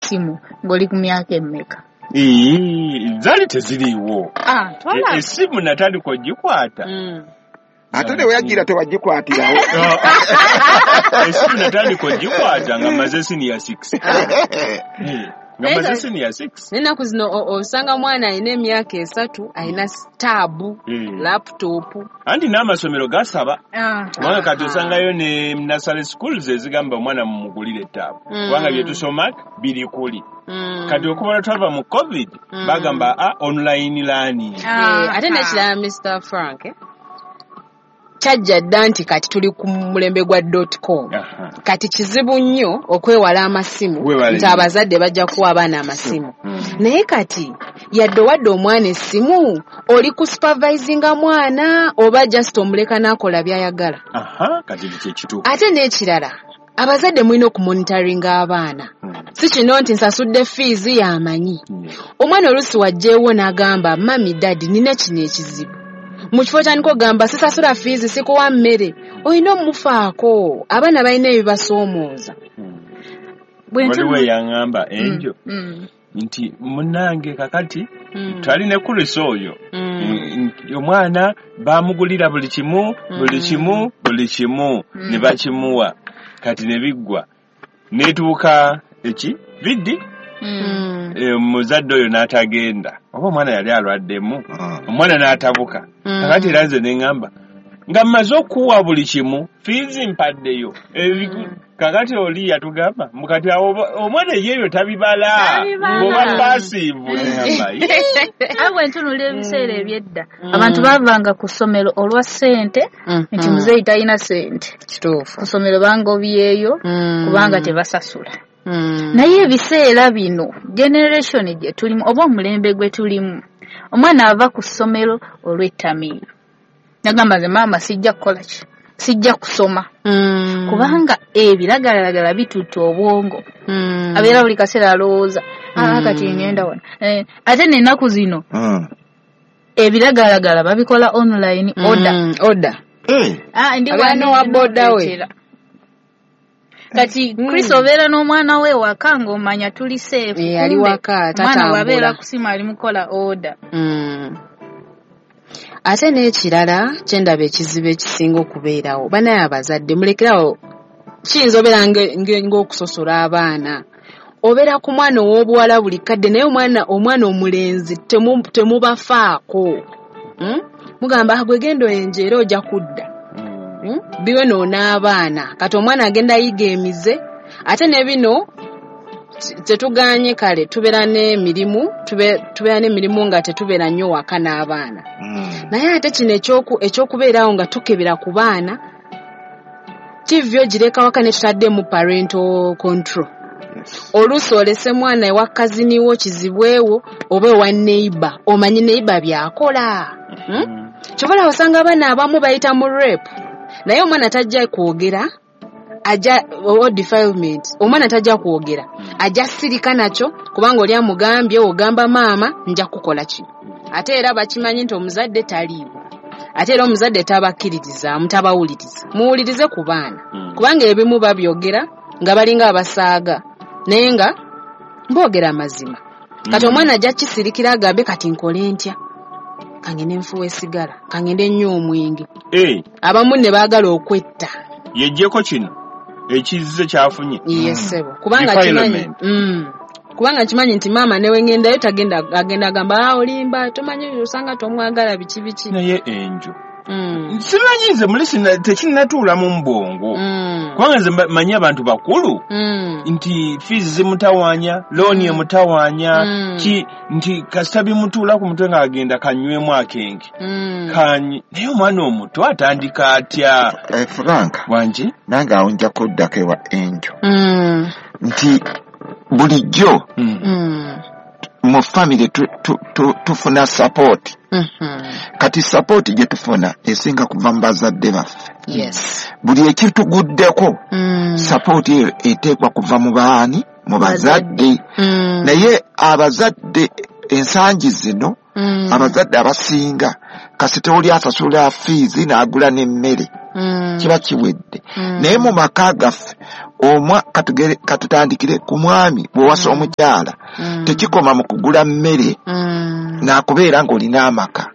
essimu ng'oli ku myaka emmeka? Zaali teziriiwo. Essimu natandika ogikwata. Ate ne weyagira tewagikwatirawo. Essimu natandika ogikwata nga mmaze senior 6. Nga mmaze senior 6. N'ennaku zino osanga mwana alina emyaka 3 alina taabu, laptop. Anti n'amasomero gasaba. Kubanga kati osangayo ne nursery schools ezigamba omwana mumugulire taabu. Kubanga bye tusoma biri kuli. Kati okuva twava mu COVID bagamba online learning. Ate n'ekirala Mr. Frank kyajja dda nti kati tuli ku mulembe gwa .com. Kati kizibu nnyo okwewala amasimu nti abazadde bajja kuwa abaana amasimu. Naye kati yadde owadde omwana essimu oli ku supervisinga mwana oba just omuleka n'akola by'ayagala. Kati kyekituufu. Ate n'ekirala abazadde mulina okumonitoringa abaana. Si kino nti nsasudde fiizi y'amanyi. Omwana oluusi wajjeewo n'agamba mami daddy nina kino ekizibu. Mu kifo kyandika ogamba sisasula fiizi sikuwa mmere, olina omufaako. Abaana balina ebibasoomooza. Waliwo eyaŋŋamba enjo nti munnange kakati twali ne Chris oyo omwana bamugulira buli kimu buli kimu buli kimu ne bakimuwa kati ne biggwa netuuka eki vidi muzadde oyo n'atagenda oba omwana yali alwaddemu omwana n'atabuka. Kakati era nze ne ŋŋamba nga mmaze okuwa buli kimu fiizi mpaddeyo. Kakati oli yatugamba mukati awo omwana yeeyo tabibala bw'oba passive. Aye bwe ntunula ebiseera eby'edda abantu baavanga ku ssomero olwa ssente nti muzeeyi talina ssente. Kituufu. Ku ssomero bangobyeyo kubanga tebasasula. Naye ebiseera bino generation gye tulimu oba omulembe gwe tulimu omwana ava ku ssomero olw'ettamiiro nagamba nze maama sijja kukola ki, sijja kusoma kubanga ebiragalalagala bitutta obwongo. Abeera buli kaseera alowooza kati ngenda wano. Ate n'ennaku zino ebiragalalagala babikola online order. Ndi wano wa boda we. Kati Chris obeera n'omwana we waka ng'omanya tuli safe. Ali waka omwana wabeera kusima ali mukola order. Ate n'ekirala kyendaba ekizibu ekisinga okubeerawo banaye abazadde mulekerawo kiyinza obeera ng'okusosola abaana. Obeera ku mwana ow'obuwala buli kadde naye omwana omulenzi temubafaako. Mugamba gwe genda oyenje era ojja kudda. Biwe n'abaana kati omwana agenda ayiga emize. Ate ne bino tetuganye kale tubeera n'emirimu tubeera n'emirimu nga tetubeera nnyo waka n'abaana. Naye ate kino ekyokubeerawo nga tukebera ku baana TV ogireka waka ne tutaddemu parental control. Oluusi olese mwana ewa kaziniwo kizibwewo oba ewa neighbor omanyi neighbor by'akola. Kyova osanga abaana abamu bayita mu rape naye omwana tajja kwogera ajja defilement omwana tajja kwogera ajja sirika nakyo kubanga oli amugambye ogamba maama nja kukola kino. Ate era bakimanyi nti omuzadde taliiwo ate era omuzadde tabakkiririza mutabawuliriza. Muwulirize ku baana kubanga ebimu babyogera nga balinga abasaaga naye nga boogera amazima. Kati omwana ajja kisirikira agambe kati nkole ntya, kangende nfuwe sigala, kangende nnywe omwenge. Abamu ne baagala okwetta. Yeggyeko kino ekizze kyafunye. Yes sebo. Kubanga kimanyi. Kubanga kimanyi nti maama newe ngendayo tagenda agenda agamba olimba tomanyi osanga tomwagala biki biki. Naye enjo. Simanyi nze mulisi tekinnatuula mu mbwongo. Kubanga nze manyi abantu bakulu nti fees zimutawaanya, looni emutawaanya, nti kasita bimutuula ku mutwe ng'agenda kanywemu akenge. Naye omwana omuto atandika atya? Frank, wangi nange awo nja kuddako ewa Enjo. Nti bulijjo mu family tufuna support. Kati support gye tufuna esinga kuva mu bazadde baffe. Yes. Buli ekituguddeko support eyo eteekwa kuva mu baani, mu bazadde. Naye abazadde ensangi zino abazadde abasinga kasita oli asasula fiizi n'agula n'emmere kiba kiwedde. Naye mu maka gaffe Katutandikire ku mwami bw'owasa omukyala, tekikoma mu kugula mmere n'akubeera ng'olina amaka.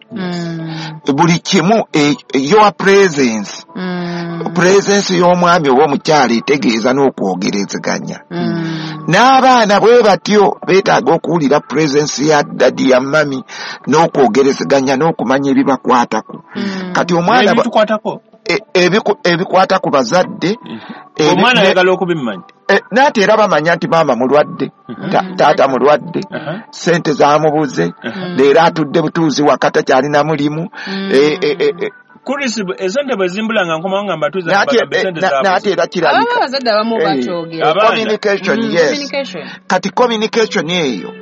Buli kimu, your presence, presence y'omwami oba omukyala etegeeza n'okwogerezeganya. N'abaana bwe batyo beetaaga okuwulira presence ya daddy, ya mummy, n'okwogerezeganya n'okumanya ebibakwatako. Kati omwana Ebitukwatako? Ebikwata ku bazadde. Omwana ayagala okubimanya. Naate era bamanya nti maama mulwadde, taata mulwadde, sente zamubuze, leero atudde butuuzi waka takyalina mulimu. Chris, esente bwe zimbula nga nkomawo nga mbatuuza, Naate mbagamba esente zabuze. Naate era kirabika. Abamu abazadde abamu bakyogera. Abaana. Communication, yes. Communication. Kati communication eyo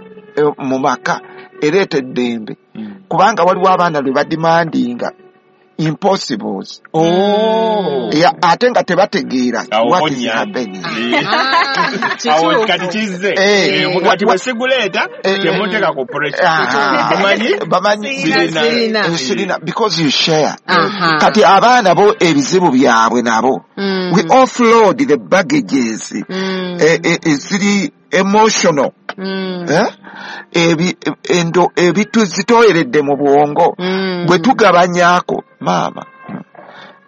mu maka ereeta eddembe, kubanga waliwo abaana lwe bademandinga impossibles. Oh. Ya, ate nga tebategeera Awo what is konya. happening. Awo Kituufu. kati kizze. Kati bwe siguleeta, temuteeka ku pressure. Bamanyi? Bamanyi. Sirina. Sirina. Sirina, because you share. Aha. Kati abaana bo ebizibu byabwe nabo, we offload the baggages eziri emotional. Eh? Ebituzitooyeredde mu bwongo, bwe tugabanyaako maama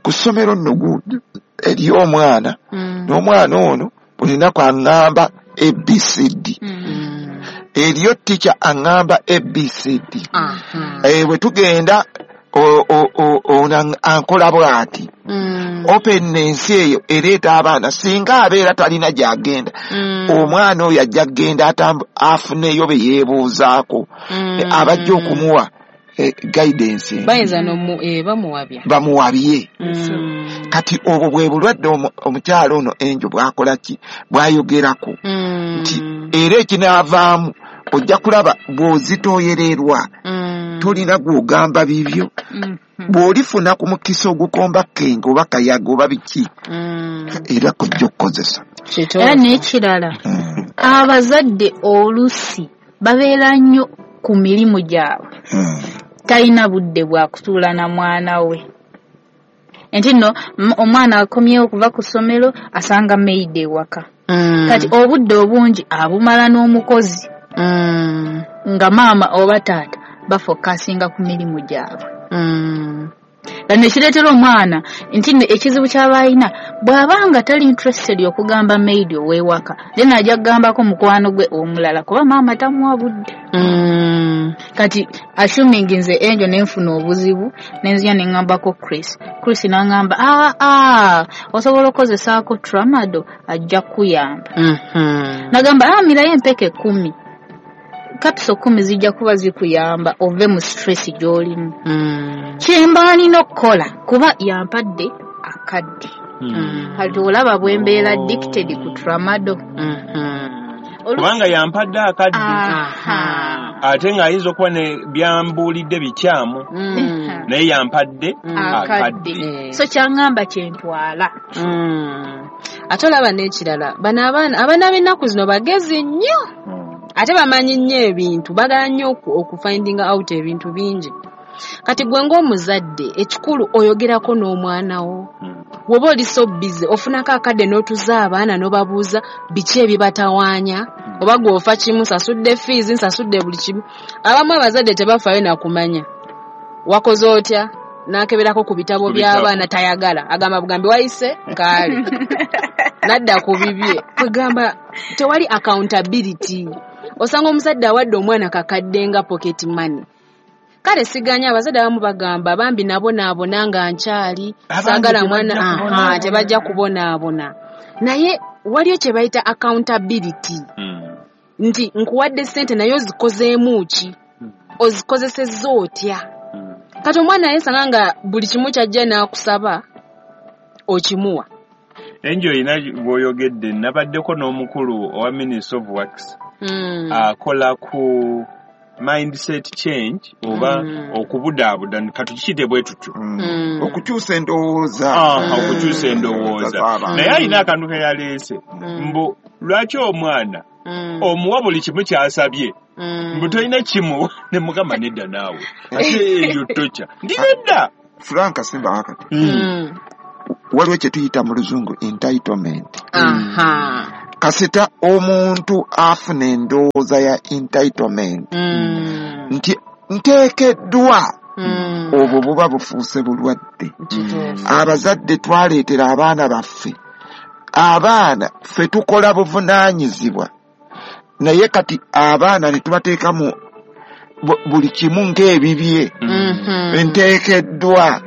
ku ssomero nno gundi eri omwana, n'omwana ono buli lunaku aŋŋamba ABCD, eriyo teacher aŋŋamba ABCD. Bwe tugenda ono ankola bw'ati. Openness eyo ereeta abaana, singa abeera talina gy'agenda, omwana oyo ajja kugenda afuneyo be yeebuuzaako, abajja okumuwa guidance. Bayinza bamuwabya. Bamuwabye. Kati obwo bwe bulwadde omukyala ono Enjo bw'akola ki, bw'ayogerako, nti era ekinaavaamu ojja kulaba bw'ozitooyererwa, tolina gw'ogamba bibyo. Bw'olifuna ku mukisa ogukomba kenge oba kayaga oba biki, era kujja okukozesa. Era n'ekirala, abazadde olusi babeera nnyo ku mirimu gyabwe, talina budde bwa kutuula na mwana we. Nti nno omwana akomyewo okuva ku ssomero, asanga maid ewaka. Kati obudde obungi abumala n'omukozi, nga maama oba taata bafokasinga ku mirimu gyabwe. Kano ekireetera omwana nti nno ekizibu ky'aba alina, bw'aba nga tali interested okugamba maid ow'ewaka, then ajja kugambako mukwano gwe omulala, kuba maama tamuwa budde. Kati assuming nze Enjo nenfuna obuzibu, nenzija neŋŋambako Chris, Chris n'aŋŋamba, aa osobola okukozesaako tramadol, ajja kukuyamba. Nagamba, mirayo empeke 10, capsule 10 zijja kuba zikuyamba ove mu stress gy'olimu. Kyemba nina okukola, kuba yampadde akadde. Kati olaba bwe mbeera addicted ku tramadol. Kubanga yampadde akadde. Ate ng'ayinza okuba ne byambuulidde bikyamu, naye yampadde akadde. Akadde. So kyaŋŋamba kyentwala. Ate olaba n'ekirala, bano abaana b'ennaku zino bagezi nnyo, ate bamanyi nnyo ebintu, baagala nnyo okufindinga out ebintu bingi. Kati gwe ng'omuzadde, ekikulu oyogerako n'omwana wo. Bw'oba oli so busy, ofunako akadde n'otuza abaana n'obabuuza biki ebibatawaanya, oba gwe ofa kimu, nsasudde fees, nsasudde buli kimu. Abamu abazadde tebafaayo na kumanya wakoze otya, n'akeberako ku bitabo Ku bitabo. by'abaana, tayagala, agamba bugambi wayise kaale nadda ku bibye. Kwegamba tewali accountability. Osanga omuzadde awadde omwana kakadde nga pocket money. Kale siganya, abazadde abamu bagamba bambi nabonaabona nga nkyali, Abange saagala tebajja mwana, aha, kubonaabona. tebajja kubonaabona. Naye waliyo kye bayita accountability, nti nkuwadde ssente naye ozikozeemu ki, ozikozesezza otya. Kati omwana yesanga nga buli kimu kyajja n'akusaba okimuwa. Enjo olina bw'oyogedde, nabaddeko n'omukulu owa Ministry of Works, akola ku mindset change oba okubudaabuda, katukiyite bwe tutyo. Okukyusa endowooza. Okukyusa endowooza. Z'abantu. Naye alina akantu ke yaleese, mbu lwaki omwana omuwa buli kimu ky'asabye, mbu tolina kimuwa? Ne mugamba nedda naawe, ate eyo tokya ndi nedda. Frank Simba wakati. Waliwo kye tuyita mu Luzungu entitlement. Kasita omuntu afuna endowooza ya entitlement nti nteekeddwa, obwo buba bufuuse bulwadde. Abazadde twaleetera abaana baffe, abaana ffe tukola buvunaanyizibwa, naye kati abaana ne tubateeka mu buli kimu ng'ebibye. Nteekeddwa,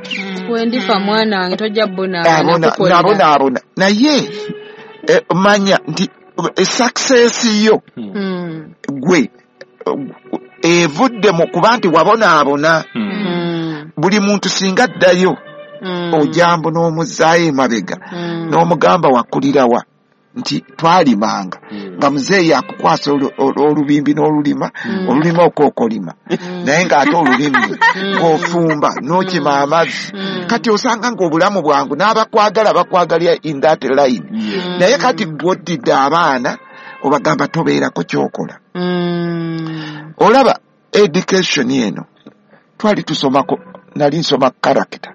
wendifa mwana wange tojja bonaabona. Naye manya nti success yo gwe evudde mu kuba nti wabonaabona. Buli muntu singa addayo ojambo n'omuzaayo emabega n'omugamba wakulirawa nti twalimanga nga muzeeyi akukwasa olubimbi n'olulima, olulima okookolima, naye ng'ate olulimi ng'ofumba n'okima amazzi. Kati osanga ng'obulamu bwangu n'abakwagala bakwagalira in that line. Naye kati gw'oddidde abaana obagamba tobeerako ky'okola. Olaba education eno twali tusomako, nali nsoma character.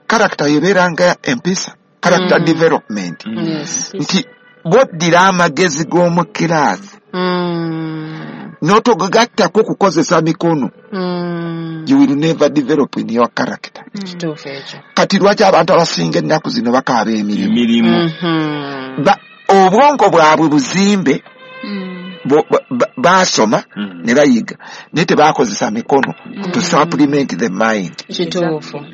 Character yebeera nga empisa, character development. Nti bw'oddira amagezi g'omu kiraasi n'otogagattako kukozesa mikono, you will never develop in your character. Kati lwaki abantu abasinga ennaku zino bakaaba emirimu? Obwongo bwabwe buzimbe, basoma ne bayiga, naye tebakozesa mikono to supplement the mind. Kituufu.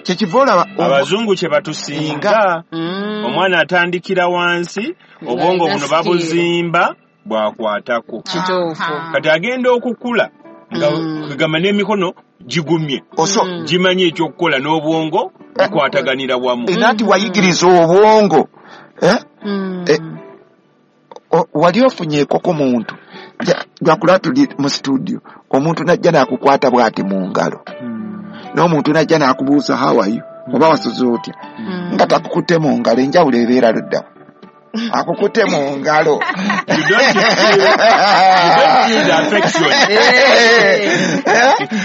Kyekiva olaba abazungu kye batusinga, omwana atandikira wansi, obwongo buno babuzimba bwakwatako. Kituufu. Kati agenda okukula nga kugamba n'emikono gigumye, gimanyi ekyokukola n'obwongo bukwataganira wamu. Era nti wayigiriza obwongo. Wali ofunyeeko ku muntu lwakula tuli mu studio, omuntu najja n'akukwata bw'ati mu ngalo, n'omuntu najja n'akubuuza how are you, oba wasuze otya, nga takukutte mu ngalo, enjawulo ebeera luddawa? Akukutte mu ngalo. You don't feel the affection.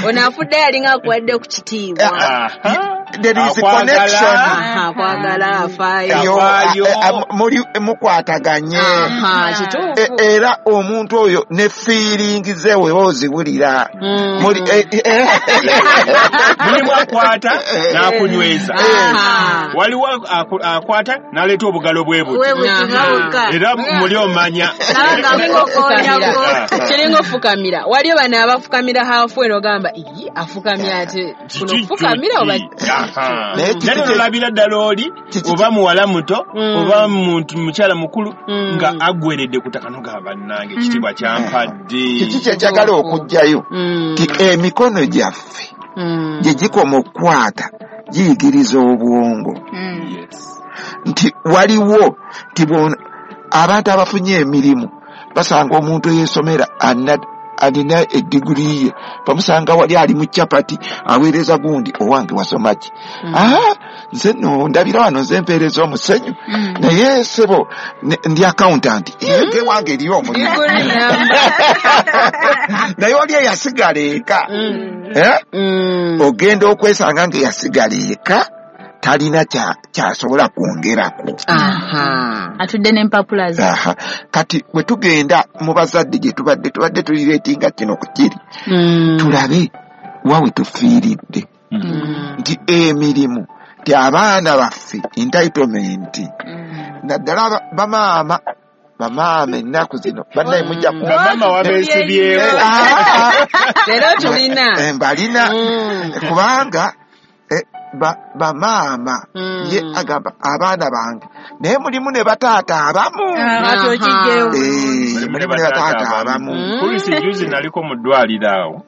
Ono afudde yalinga akuwadde ku kitiibwa. There is a connection. Akwagala afaayo. Muli mukwataganye. Era omuntu oyo ne feeling ze oziwulira. Mulimu akwata n'akunyweza. Waliwo akwata n'aleeta obugalo bwe buti. Era muli omanya. Kiringa ofukamira. Waliyo bano abafukamira hafu eno ogamba iyi afukamira ate kuno fukamira oba naye olabira ddala oli oba muwala muto oba muntu mukyala mukulu nga aggweredde ku ttaka n'ogamba bannange ekitiibwa kyampadde. Kiki kye njagala okuggyayo nti emikono gyaffe gye gikoma okukwata giyigiriza obwongo. Nti waliwo nti abantu abafunye emirimu basanga omuntu eyeesomera alina ediguri ye, bamusanga wali ali mu chapati aweereza gundi, owange wasoma ki? Nze nno ndabira wano nze mpeereza omusenyu, naye ssebo ndi accountant, ye wange eriyo omulimu. Naye oli eyasigala eka, ogenda okwesanga ng'eyasigala eka talina kyasobola kwongerako. Atudde n'empapula ze. Kati bwe tugenda mu bazadde gye tubadde tulireetinga kino ku kiri, tulabe wa we tufiiridde. Nti emirimu ti abaana baffe entitlement, naddala bamaama ennaku zino bannaye mujja bamaama wabeesibyeko. Leero tulina mbalina kubanga bamaama ye agamba abaana bange, naye mulimu ne bataata abamu. Mulimu ne bataata abamu. Polisi juzi naliko mu ddwaliro awo,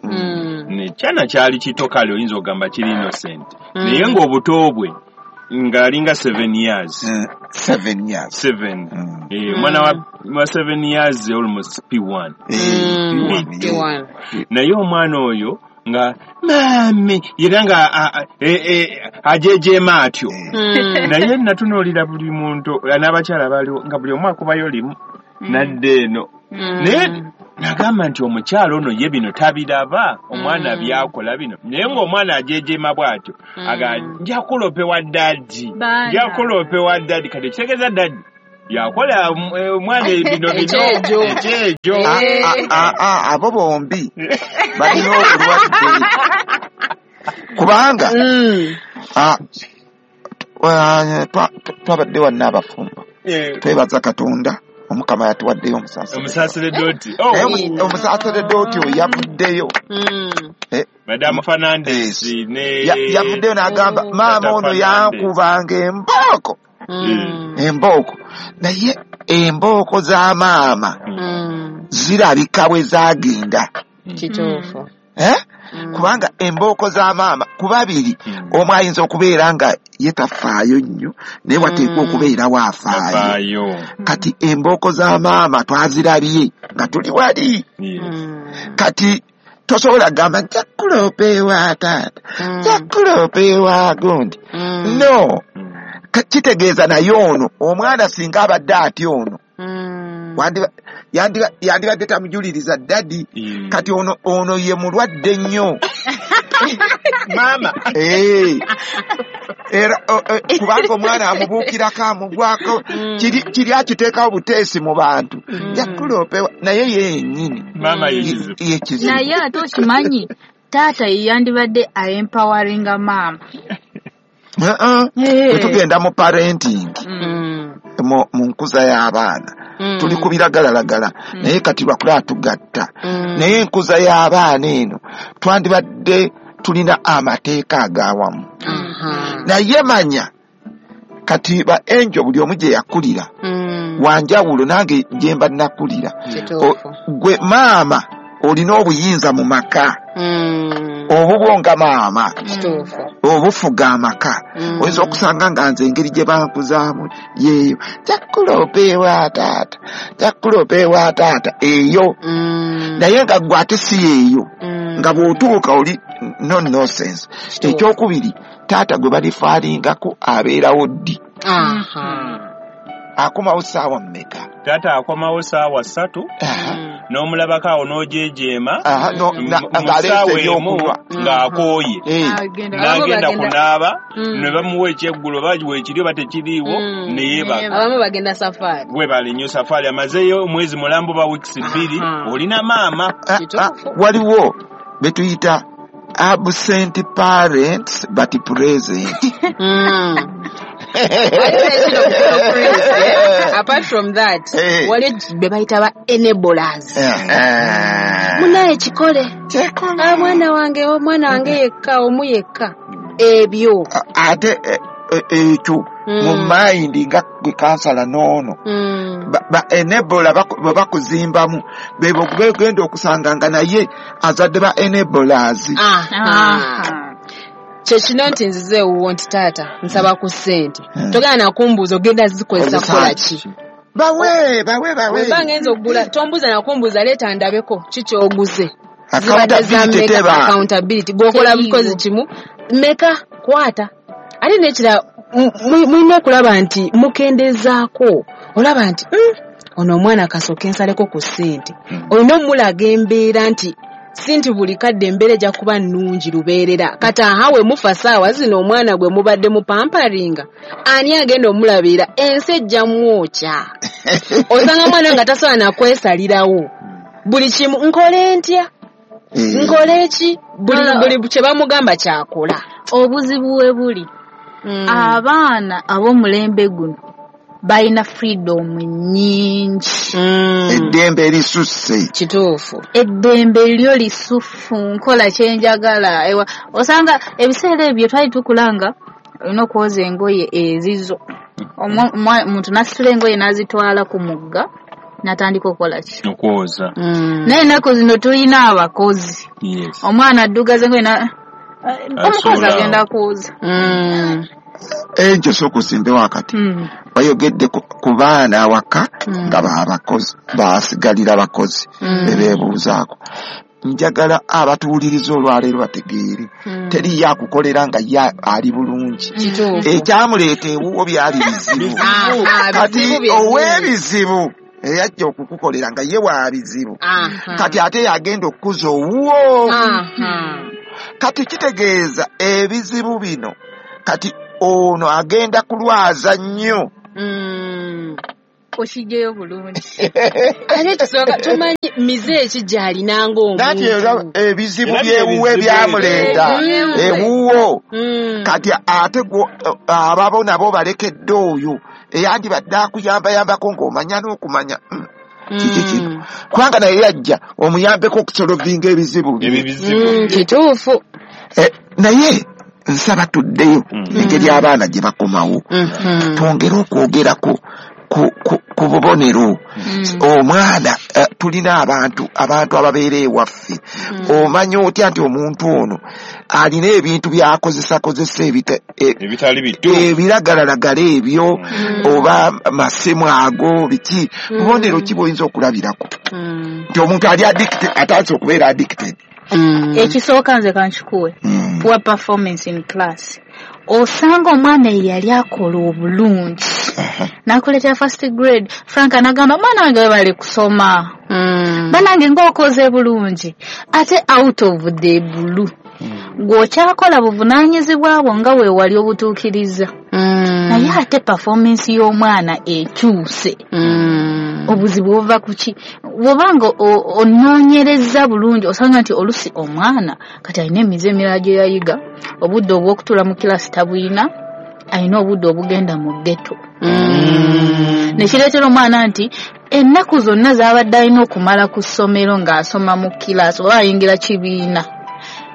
nekyana kyali kito kale oyinza okugamba kiri innocent, naye ng'obuto bwe ng'alinga 7 years. 7 years. 7. Omwana wa 7 years almost P1. P1. Naye omwana oyo nga mami era nga ajejeema atyo. Naye natunuulira buli muntu n'abakyala baliwo nga buli omu akubayo limu nadda eno. Naye Nagamba nti omukyalo ono ye bino tabiraba, omwana byakola bino, naye ng'omwana ajejeema bw'atyo aga nja kulopewa daddy, nja kulopewa daddy. Kati ekitegeeza daddy yakola omwana bino bino ekyejo. Abo bombi balina obulwadde kubanga twabadde wanna abafumbo, twebaza Katonda Omukama yatuwaddeyo omusaseredoti. Omusaseredoti oyo yavuddeyo. Madam Fernandez yavuddeyo n'agamba maama ono yankubanga embooko. Embooko, naye embooko za maama zirabika bwe zagenda. Kituufu. Kubanga embooko za maama ku babiri omu ayinza okubeera nga ye tafaayo nnyo, naye wateekwa okubeerawo afaayo. Kati embooko za maama twazirabye nga tuli wali. Kati tosobola gamba nja kulopa ewa taata, nja kulopa ewa gundi. No, kitegeeza naye ono omwana singa abadde atya ono yandibadde tamujuliriza daddy. Kati ono ye mulwadde nnyo maama. Era kubanga omwana amubuukirako amugwako, kiri akiteekawo buteesi mu bantu, nja kulopewa naye yennyini maama ye kizibu. Naye ate okimanyi taata ye yandibadde aempoweringa maama. Bwe tugenda mu parenting, mu nkuza y'abaana, tuli ku biragalalagala, naye kati lwakulaba tugatta. Naye enkuza y'abaana eno twandibadde tulina amateeka agawamu. Naye manya kati ba Angel buli omu gye yakulira wanjawulo, nange gye mba nakulira. Gwe maama olina obuyinza mu maka, obubwo nga maama obufuga amaka. Oyinza okusanga nga nze engeri gye bankuzaamu yeeyo, nja kulopa ewa taata, nja kulopa ewa taata eyo. Naye nga gwe ate si yeeyo, nga bw'otuuka oli no nonsense. Ekyokubiri, taata gwe balifaalingako abeerawo ddi? Akomawo ssaawa mmeka? Taata akomawo ssaawa 3, n'omulabako awo n'ojejeema ng'aleese ebyokunywa ng'akooye, n'agenda kunaaba, ne bamuwa ekyeggulo oba weekiri oba tekiriiwo, ne yeebaka. Abamu bagenda safaari. Webale nnyo safaari, amazeeyo omwezi mulambo ba wiikisi 2, olina maama. Waliwo be tuyita absent parents but present. Apart from that, wali be bayita ba enablers. Munaye kikole. Omwana wange yekka, omu yekka. Ebyo. Ate ekyo mu mind nga gwe kansala n'ono. Ba enabler bwe bakuzimbamu, bebo begenda okusanga nga naye azadde ba enablers. Kyekino nti nzize ewuwo nti taata nsaba ku ssente, togenda nakumbuuza ogenda zikozesa kukola ki? Bawe. Wemba ngenza okugula, tombuuza nakumbuuza, leeta ndabeko ki ky'oguze. Accountability gw'okola bukozi kimu meka kwata. Ate n'ekirala mulina okulaba nti mukendezaako, olaba nti ono omwana kasooke nsaleko ku ssente. Olina omulaga embeera nti si nti buli kadde embeera ejja kuba nnungi lubeerera. Kati aha we mufa ssaawa zino omwana gwe mubadde mupamparinga, ani agenda omulabirira? Ensi ejja mwokya. Osanga omwana nga tasobola na kwesalirawo buli kimu, nkole ntya, nkole ki, buli kye bamugamba kyakola. Obuzibu we buli, abaana ab'omulembe guno balina freedom nnyingi. Eddembe lisusse. Kituufu. Eddembe lyo lisufu, nkola kye njagala. Osanga ebiseera ebyo twali tukulanga olina okwoza engoye ezizo. Omuntu n'asitula engoye n'azitwala ku mugga n'atandika okukola ki? Okwoza. Naye ennaku zino tulina abakozi. Omwana addugaza engoye omukozi agenda kwoza. Ekyo sooka osimbewo akati. Bayogedde ku baana awaka nga babakozi, basigalira bakozi bebeebuuzaako. Njagala abatuwuliriza olwaleero bategeere, teriyo akukolera nga ye ali bulungi. Ekyamuleeta ewuwo byali bizibu. Kati ow'ebizibu Eyajja okukukolera nga ye wa bizibu. Kati ate yagenda okukuza owuwo. Kati kitegeeza ebizibu bino kati ono agenda kulwaza nnyo. Okijjeyo bulungi. Ate kisooka tumanyi mize eki gy'alina ng'omuntu. Nati ebizibu byewuwe byamuleeta ewuwo. Kati ate ababo nabo balekedde oyo eyandibadde akuyambayambako ng'omanya n'okumanya kiki kino. Kubanga naye yajja omuyambeko okusolovinga ebizibu bye. Kituufu. Naye nsaba tuddeyo engeri abaana gye bakomawo. Twongere okwogerako ku bubonero. Omwana tulina abantu ababeera ewaffe. Omanya otya nti omuntu ono alina ebintu by'akozesakozesa ebitali bituufu, ebiragalalagala ebyo oba masimu ago biki. Bubonero ki bw'oyinza okulabirako nti omuntu ali addicted, atandise okubeera addicted? Ekisooka nze kankikuwe, poor performance in class. Osanga omwana eyali akola obulungi nakuleetera first grade, Frank anagamba mwana wange webale kusoma, banange ng'okoze bulungi, ate out of the blue gw'okyakola buvunaanyizibwa bwo nga weewali obutuukiriza, naye ate performance y'omwana ekyuse. Obuzibu buva ku ki? Bw'obanga onoonyereza bulungi osanga nti olusi omwana kati alina emize emirala gye yayiga, obudde obw'okutuula mu kilasi tabulina, alina obudde obugenda mu ghetto. Nekireetera omwana nti ennaku zonna z'abadde alina okumala ku ssomero ng'asoma mu kilasi oba ayingira kibiina,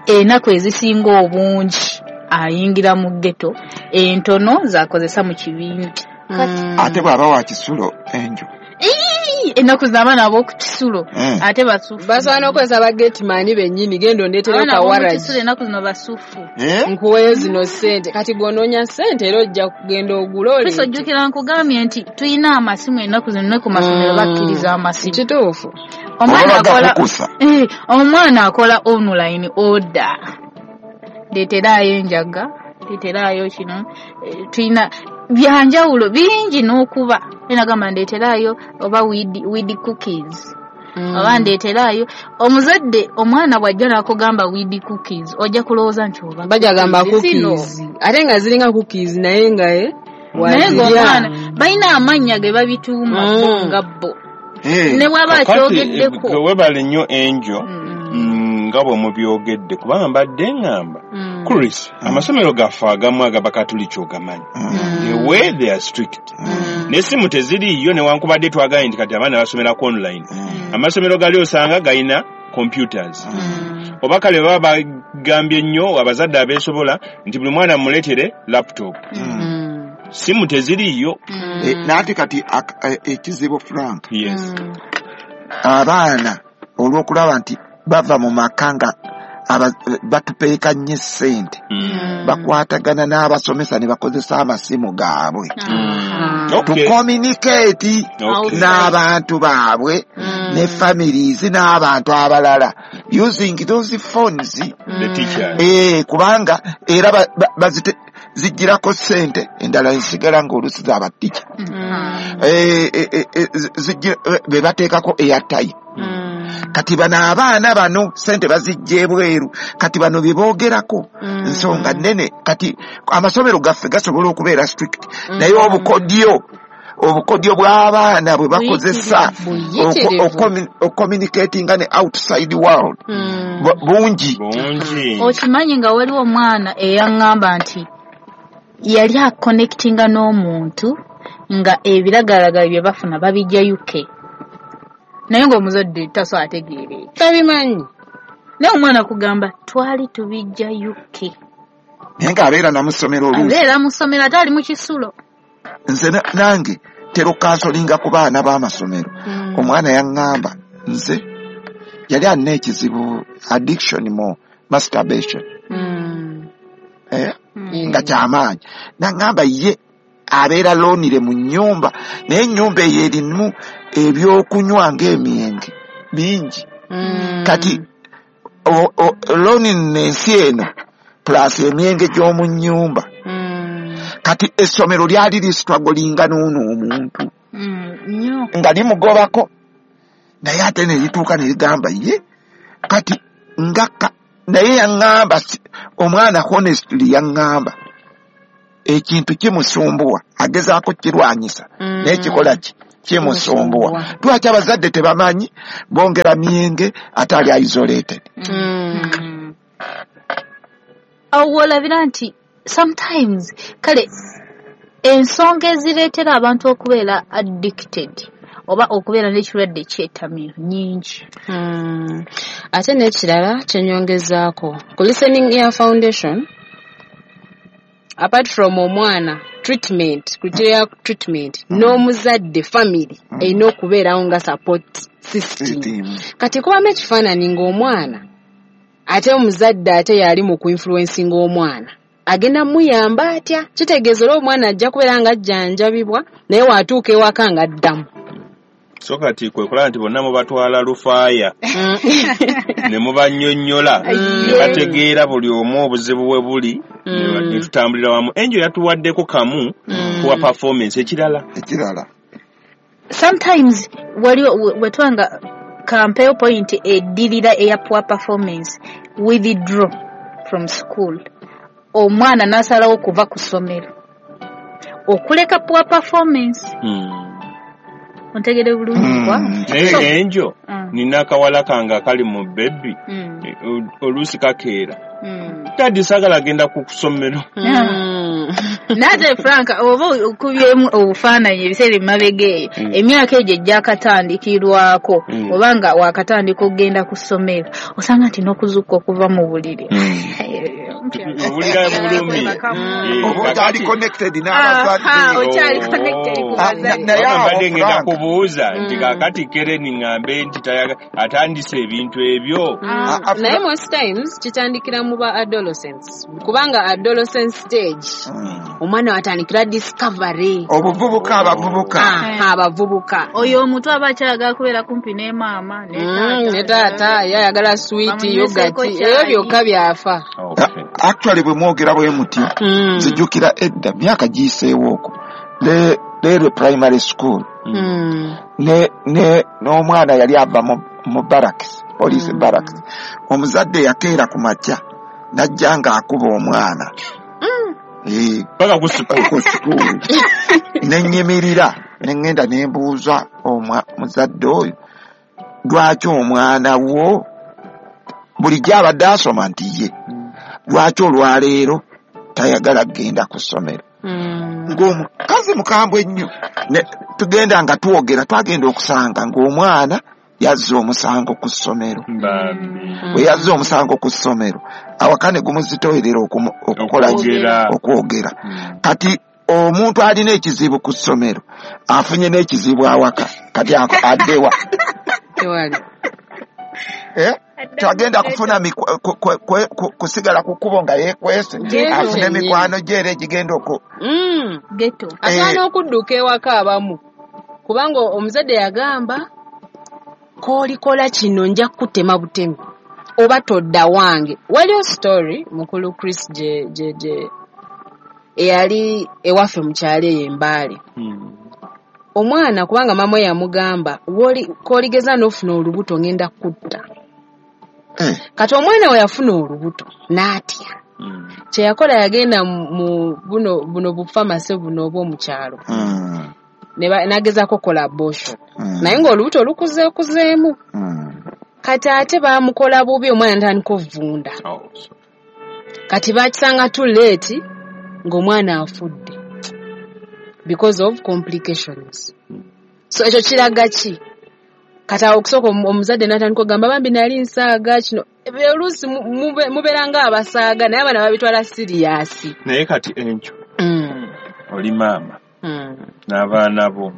ennaku ezisinga obungi ayingira mu ghetto, entono z'akozesa mu kibiina. Ate bw'aba wa kisulo enjo ennaku z'abaana ab'oku kisulo ate basufu. Basobola n'okukozesa ba gateman bennyini, genda ondeetereyo kawaragi. Ennaku zino basufu. Nkuweeyo zino ssente. Kati gw'onoonya ssente era ojja kugenda ogula oleete. Kristo ojjukira nkugambye nti tulina amasimu ennaku zino ne ku masomero bakkiriza amasimu. Kituufu. Omwana akola online order. Ndeeteraayo enjaga, ndeeteraayo kino, tulina byanjawulo bingi n'okuba. Enagamba ndeeteraayo oba weed cookies. Oba ndeeteraayo omuzadde omwana bw'ajja n'akugamba weed cookies ojja kulowooza nti oba bajja gamba cookies ate nga ziringa cookies naye nga naye ng'omwana balina amannya ge babituuma bo nga bo ne bw'aba akyogeddeko. Webale nnyo Enjo nga bwe mubyogedde kubanga mbadde ŋŋamba Chris, amasomero gaffe agamu agabakatuliki ogamanyi. The way they are strict. N'essimu teziriiyo newankubadde twagambye nti kati abaana basomerako online. Amasomero gali osanga galina computers. Oba kale baba bagambye nnyo abazadde abeesobola nti buli mwana muleetere laptop. Simu teziriiyo. N'ate kati ekizibu Frank. Yes. Abaana olw'okulaba nti bava mu maka nga batupeeka nnyo ssente, bakwatagana n'abasomesa ne bakozesa amasimu gaabwe to communicate n'abantu baabwe ne families n'abantu abalala using those phones. The teachers. Kubanga era zijjirako ssente endala nsigala ng'oluusi z'abatica be bateekako airtime. Kati bano abaana bano ssente bazijja ebweru, kati bano bye boogerako nsonga nnene. Kati amasomero gaffe gasobola okubeera strict, naye obukodyo bw'abaana bwe bakozesa ocommunicatinga ne outside world bungi. Okimanyi nga waliwo omwana eyaŋŋamba nti yali aconnectinga n'omuntu nga ebiragalagala bye bafuna babijja UK, naye ng'omuzadde tasobola ategeera tabimanyi, naye omwana kugamba twali tubijja UK, naye ng'abeera namusomero oluusi, abeera musomero ate ali mu kisulo. Nze nange tero kansolinga ku baana b'amasomero. Omwana yaŋŋamba nze yali alina ekizibu addiction mu masturbation nga kyamaanyi, naŋŋamba ye abeera loonire mu nnyumba, naye ennyumba eyo erimu ebyokunywa ng'emyenge bingi. Kati loneliness eno plus emyenge gy'omu nnyumba. Kati essomero lyali listrugglinga n'ono omuntu. Nga limugobako, naye ate ne lituuka ne ligamba ye kati nga naye yaŋŋamba, omwana honestly yaŋŋamba ekintu kimusumbuwa, agezaako kirwanyisa, naye kikola ki? Kimusumbuwa. Lwaki abazadde tebamanyi? Bongera myenge ate ali isolated. Awo wolabira nti sometimes kale ensonga ezireetera abantu okubeera addicted oba okubeera n'ekirwadde kyetamiiro nnyingi. Ate n'ekirala kyenyongezaako ku Listening Ear Foundation, apart from omwana treatment, criteria treatment, n'omuzadde family erina okubeerawo nga support system. Kati kubamu ekifaananyi ng'omwana ate omuzadde ate yali mu kuinfluencinga omwana, agenda muyamba atya? Kitegeeza era omwana ajja kubeera nga ajjanjabibwa, naye waatuuka ewaka nga addamu. So kati kwe kulaba nti bonna mubatwala lufaaya ne mubannyonnyola ne bategeera buli omu obuzibu bwe buli, ne tutambulira wamu. Enjo yatuwaddeko kamu kuwa performance. Ekirala sometimes waliwo wetwanga kampeyo point eddirira eya poor performance, withdraw from school, omwana n'asalawo okuva ku ssomero okuleka poor performance. Ontegere bulungi kwa? Naye enjo nina akawala kange akali mu baby, oluusi kakeera, "Daddy, saagala genda ku ssomero." Nate Frank, oba okubyemu obufaananyi ebiseera emabega eyo, emyaka egyo egyakatandikirwako, oba nga wakatandika okugenda ku ssomero, osanga nti n'okuzuukuka okuva mu buliri owulira bulumi. Oba okyali connected n'abazadde. Okyali connected ku bazadde. Naye awo, mbadde ngenda Frank. kubuuza nti kaakati Kereni ŋŋambe nti atandise ebintu ebyo. Naye most times kitandikira mu ba adolescents, kubanga adolescent stage omwana watandikira discovery. Obuvubuka, abavubuka. Abavubuka. Oyo omuto aba akyayagala kubeera kumpi ne maama ne ne taata, ye ayagala sweet, Bamunyweseeko yogurt, kyayi. ebyo byokka byafa. Actually bwe mwogera bwe mutyo, nzijukira edda myaka giyiseewo okwo leero primary school, ne n'omwana yali ava mu barracks, police barracks. Omuzadde yakeera ku makya n'ajja ng'akuba omwana. Paka ku school. Ku school. Ne nnyimirira ne ŋŋenda ne mbuuza muzadde oyo, lwaki omwana wo bulijjo abadde asoma? Nti ye, lwaki olwaleero tayagala kugenda ku ssomero? Ng'omukazi mukambwe ennyo. Ne tugenda nga twogera, twagenda okusanga ng'omwana yazza omusango ku ssomero. Bwe yazza omusango ku ssomero, awaka ne gumuzitowerera okukola ki? Okwogera. Okwogera. Kati omuntu alina ekizibu ku ssomero afunye n'ekizibu awaka, kati addewa? Tewali. Tagenda kufuna kusigala ku kkubo nga yeekwese, Ghetto afune kyennyini. mikwano gye era egigenda oku Ghetto. Asaana okudduka ewaka abamu, kubanga omuzadde yagamba koolikola kino nja kukutema butemi oba todda wange. Waliwo story mukulu Chris gye gye gye eyali ewaffe mu kyalo eyo Embaale. Omwana kubanga maama we yamugamba k'oligeza n'ofuna olubuto ngenda kutta. Kati omwana we yafuna olubuto n'atya. Kye yakola yagenda mu buno bufamase buno obw'omu kyalo. N'agezaako okukola abortion. Naye ng'olubuto lukuzeekuzeemu. Kati ate baamukola bubi, omwana n'atandika ovunda. Kati baakisanga too late ng'omwana afudde because of complications. So ekyo kiraga ki? Kati awo okusooka omuzadde n'atandika okugamba bambi nali nsaaga kino. Oluusi mubeera ng'abasaaga naye abaana babitwala serious. Naye kati enkyo oli maama n'abaana bo.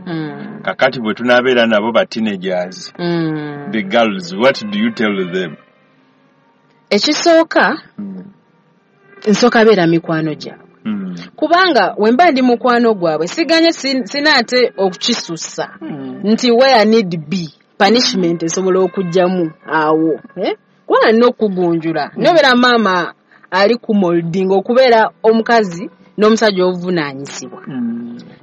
Kakati bwe tunaabeera nabo ba teenagers, the girls, what do you tell them? Ekisooka, nsooka beera mikwano gyabwe. Kubanga we mba ndi mukwano gwabwe siganye sina ate okukisussa nti where need be punishment esobola okujjamu awo, eh? Kubanga nina okugunjula. Naye obeera maama ali ku molding okubeera omukazi n'omusajja obuvunaanyizibwa.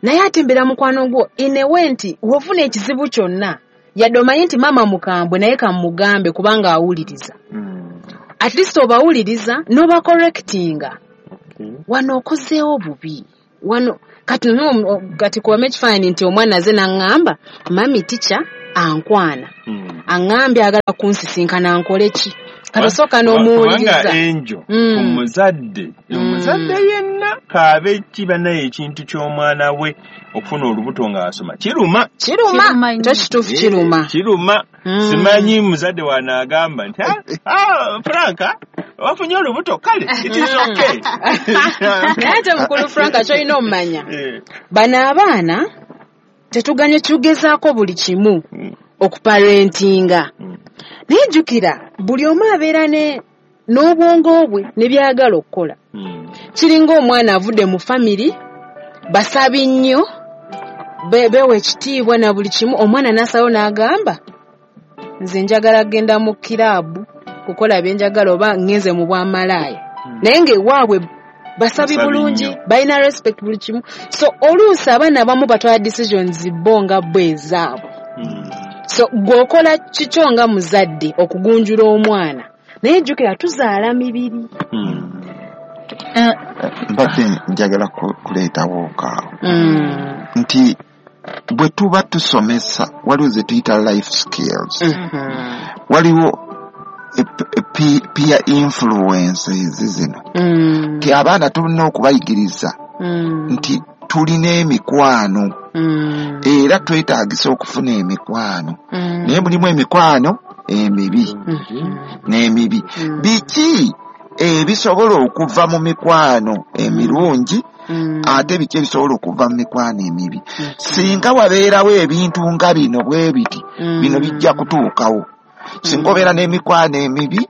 Naye ate mbeera mukwano gwo in a way nti wofuna ekizibu kyonna, yadde omanyi nti maama mukambwe naye kamugambe kubanga awuliriza. At least obawuliriza n'obacorrectinga. Wano okozeewo bubi. Wano kati kuwama ekifaananyi nti omwana aze n'aŋŋamba mami teacher ankwana. Aŋŋambye agala kunsisinkana nkole ki? Kati osooka n'omuwuliriza. Kubanga Angel, omuzadde yenna kaabe kiba naye ekintu ky'omwana we okufuna olubuto ng'asoma. Kiruma. Kiruma. Kituufu kiruma. Kiruma. Simanyi muzadde wanaagamba nti Franka wafunye olubuto kale it is okay. Naye ate mukulu Franka ky'olina omumanya. Bano abaana tetuganye tugezaako buli kimu okuparentinga. Naye jjukira buli omu abeera n'obwongo bwe ne by'ayagala okukola. Kiringa omwana avudde mu family basabi nnyo beewa ekitiibwa na buli kimu, omwana n'asalawo n'agamba nze njagala kugenda mu kiraabu kukola bye njagala oba ngenze mu bwamalaaya. Naye ng'ewaabwe basabi bulungi, balina respect buli kimu. So oluusi abaana abamu batwala decisions bo nga bo ezaabwe. So gw'okola kikyo nga muzadde okugunjula omwana, naye jjukira tuzaala mibiri. Mbadde njagala kuleetawo kaawo nti bwe tuba tusomesa waliwo ze tuyita life skills, waliwo peer influences zino nti abaana tulina okubayigiriza nti tulina emikwano era twetaagisa okufuna emikwano, naye mulimu emikwano emibi n'emibi. Biki ebisobola okuva mu mikwano emirungi ate biki ebisobola okuva mu mikwano emibi? Singa wabeerawo ebintu nga bino bwe biti, bino bijja kutuukawo. Singa obeera n'emikwano emibi,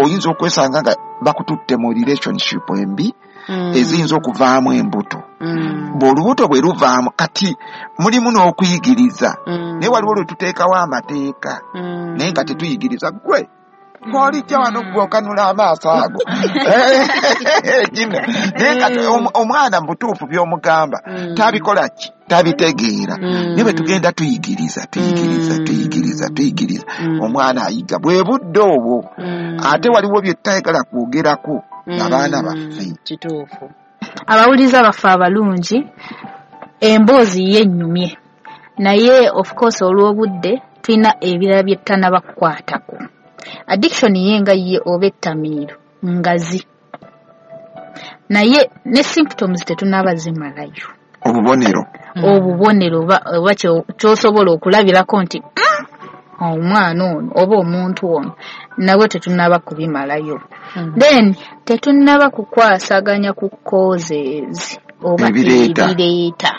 oyinza okwesanga nga bakututte mu relationship embi eziyinza okuvaamu embuto. Bw'olubuto bwe luvaamu kati mulimu n'okuyigiriza, naye waliwo lwe tuteekawo amateeka naye nga tetuyigiriza. Gwe olijja wano gwe okanula amaaso ago naye kati omwana mu butuufu by'omugamba tabikola ki, tabitegeera. Naye bwe tugenda tuyigiriza omwana ayiga bwe budde obwo. Ate waliwo bye tutayagala kwogerako abaana baffe. Kituufu. Abawuliza baffe abalungi, emboozi yennyumye, naye of course olw'obudde tulina ebirala bye tutanaba kukwatako. Addiction ye nga ye oba ettamiiro ngazi, naye ne symptoms tetunaba zimalayo. Obubonero oba ky'osobola okulabirako nti omwana ono oba omuntu ono nawe tetunaba kubimalayo. Then tetunaba kukwasaganya ku causes oba ebireeta.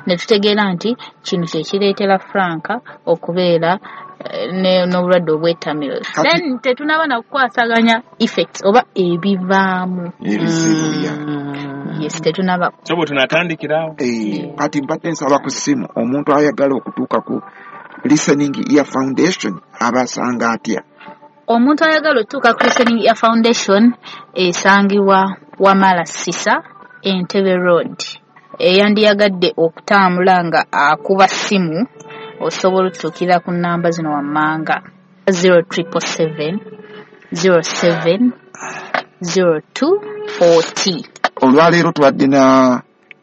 Ne tutegeera nti kino kye kireetera Franka okubeera n'obulwadde obw'ettamiro. Then tetunaba na kukwasaganya effects oba ebivaamu. Yes, tetunaba. So bwe tunatandikirawo. Kati mbadde nsaba ku ssimu omuntu ayagala okutuuka ku Listening Ear Foundation abasanga atya? Omuntu ayagala okutuuka ku Listening Ear Foundation esangibwa Wamala Sisa, Entebbe Road. Eyandiyagadde okutambula nga akuba ssimu osobola okutuukira ku nnamba zino wammanga 0777 07 0240. Olwaleero tubadde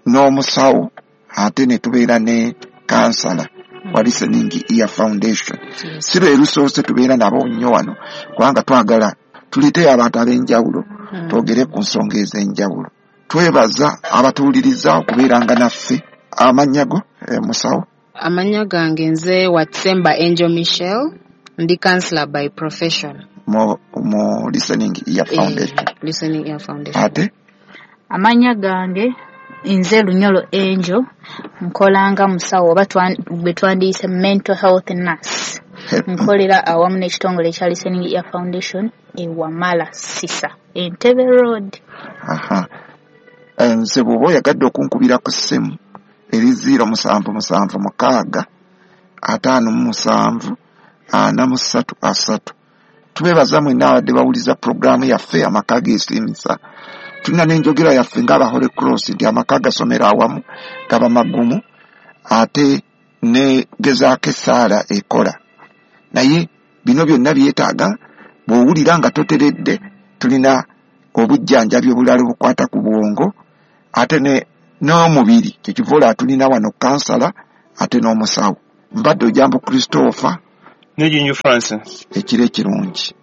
n'omusawo ate ne tubeera ne kansala wa Listening Ear Foundation. Si lwe lusoose tubeera nabo nnyo wano kubanga twagala tuleeteyo abantu ab'enjawulo twogere ku nsonga ez'enjawulo. Twebaza abatuwuliriza okubeeranga naffe. Amannya go musawo? Amannya gange nze Watsemba Angel Michelle, ndi counselor by profession mu Listening Ear Foundation. Listening Ear Foundation. Ate amannya gange nze Lunyolo Angel, nkolanga musawo oba bwe twandiyise mental health nurse. Nkolera awamu n'ekitongole ekya Listening Ear Foundation e Wamala Sisa, Entebbe Road. Aha. Nze bw'oba oyagadde okunkubira ku ssimu eri 0776 57 43 3. Tubeebaza mwenna abadde bawuliza pulogulaamu yaffe Amaka Geesiimisa. Tulina n'enjogera yaffe ng'aba Holy Cross nti amaka gasomera awamu gaba magumu, ate ne gezaako essaala ekola. Naye bino byonna byetaaga bw'owulira nga toteredde, tulina obujjanjabi obulala obukwata ku bwongo ate n'omubiri. Kyekiva olaba tulina wano kansala ate n'omusawo. Mbadde Ojambo Christopher ne Jinju Francis. Ekiro ekirungi.